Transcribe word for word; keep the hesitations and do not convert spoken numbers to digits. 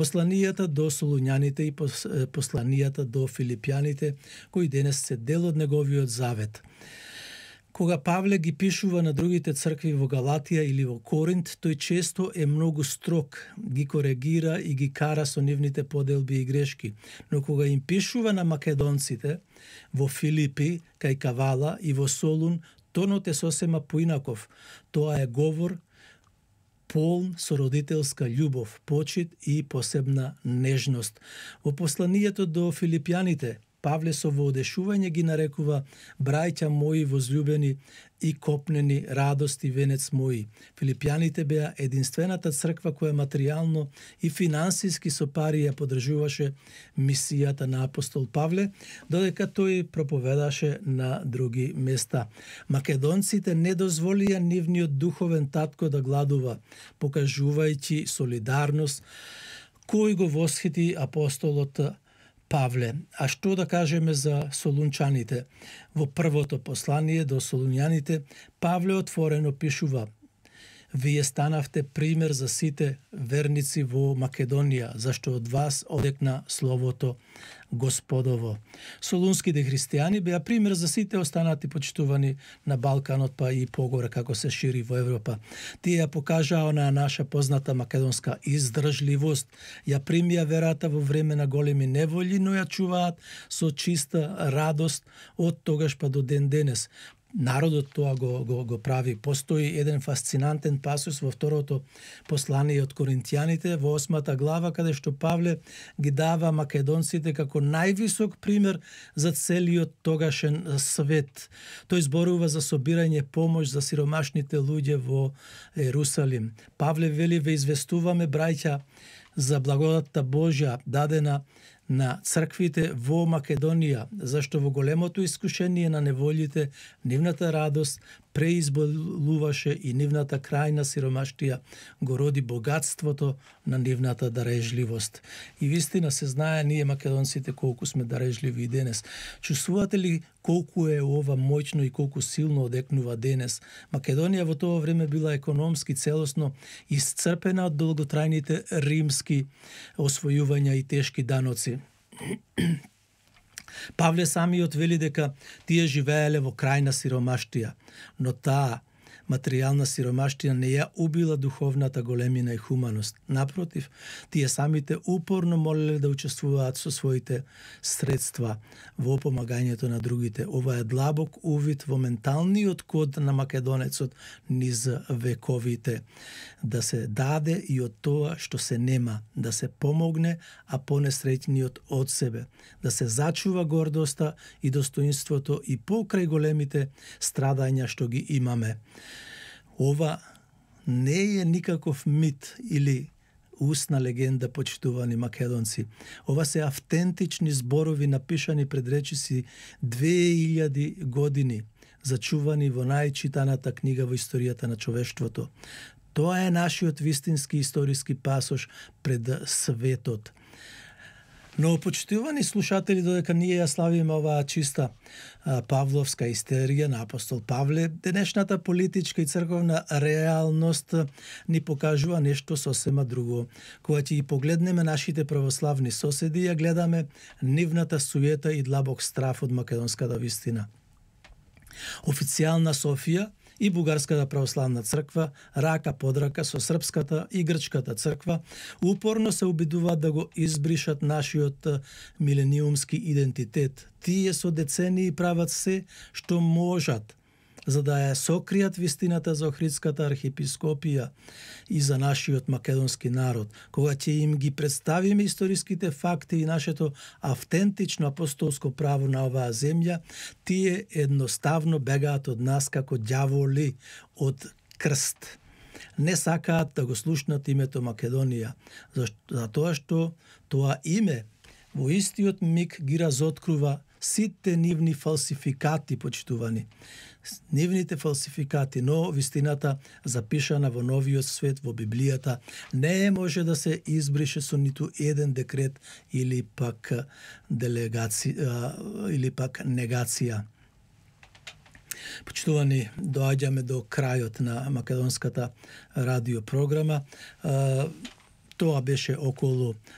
Посланијата до Солуњаните и посланијата до Филипјаните, кои денес се дел од неговиот завет. Кога Павле ги пишува на другите цркви во Галатија или во Коринт, тој често е многу строг, ги коригира и ги кара со нивните поделби и грешки. Но кога им пишува на македонците во Филипи, кај Кавала и во Солун, тонот е сосема поинаков. Тоа е говор полн со родителска љубов, почит и посебна нежност. Во посланието до Филипјаните, Павле со воодешување ги нарекува браќа мои возлюбени и копнени, радост и венец мои. Филипјаните беа единствената црква која материјално и финансиски со пари ја поддржуваше мисијата на апостол Павле, додека тој проповедаше на други места. Македонците не дозволија нивниот духовен татко да гладува, покажувајќи солидарност кој го восхити апостолот Павле. А што да кажеме за солунчаните? Во првото послание до солуњаните, Павле отворено пишува: Вие станавте пример за сите верници во Македонија, зашто од вас одекна словото Господово. Солунските христијани беа пример за сите останати почитувани на Балканот, па и погоре како се шири во Европа. Тие ја покажаа на наша позната македонска издржливост, ја примија верата во време на големи неволји, но ја чуваат со чиста радост од тогаш па до ден денес. Народот тоа го, го, го прави. Постои еден фасцинантен пасус во второто послание од Коринтијаните, во осмата глава, каде што Павле ги дава македонците како највисок пример за целиот тогашен свет. Тој зборува за собирање помош за сиромашните луѓе во Ерусалим. Павле вели: ве известуваме, браќа, за благодатта Божја дадена на црквите во Македонија, зашто во големото искушение на неволите, нивната радост преизболуваше и нивната крајна сиромаштија го роди богатството на нивната дарежливост. И вистина се знае ние македонците колку сме дарежливи и денес. Чувствувате ли колку е ова моќно и колку силно одекнува денес? Македонија во тоа време била економски целосно исцрпена од долготрајните римски освојувања и тешки даноци. Павле самиот вели дека тие живееле во крајна сиромаштија, но таа материјална сиромаштија не ја убила духовната големина и хуманост. Напротив, тие самите упорно молеле да учествуваат со своите средства во помагањето на другите. Ова е длабок увид во менталниот код на македонецот низ вековите. Да се даде и од тоа што се нема, да се помогне, а понесреќниот од себе, да се зачува гордоста и достоинството и покрај големите страдања што ги имаме. Ова не е никаков мит или устна легенда, почитувани македонци. Ова се автентични зборови напишани пред речиси две илјади години, зачувани во најчитаната книга во историјата на човештвото. Тоа е нашиот вистински историски пасош пред светот. Но, почитувани слушатели, додека ние ја славиме оваа чиста а, павловска истерија на апостол Павле, денешната политичка и црковна реалност ни покажува нешто сосема друго. Кога ќе ги погледнеме нашите православни соседи, ја гледаме нивната суета и длабок страф од македонската вистина. Официјална Софија и Бугарската православна црква, рака под рака со српската и грчката црква, упорно се обидуваат да го избришат нашиот милениумски идентитет. Тие со децении прават се што можат за да ја сокријат вистината за Охридската архиепископија и за нашиот македонски народ. Кога ќе им ги представиме историските факти и нашето автентично апостолско право на оваа земја, тие едноставно бегаат од нас како ѓаволи од крст. Не сакаат да го слушнат името Македонија, за тоа што тоа име во истиот миг ги разоткрува сите нивни фалсификати, почитувани. Нивните фалсификати, но вистината запишана во новиот свет, во Библијата, не може да се избрише со ниту еден декрет или пак делегација или пак негација. Почитувани, доаѓаме до крајот на македонската радиопрограма. Тоа беше околу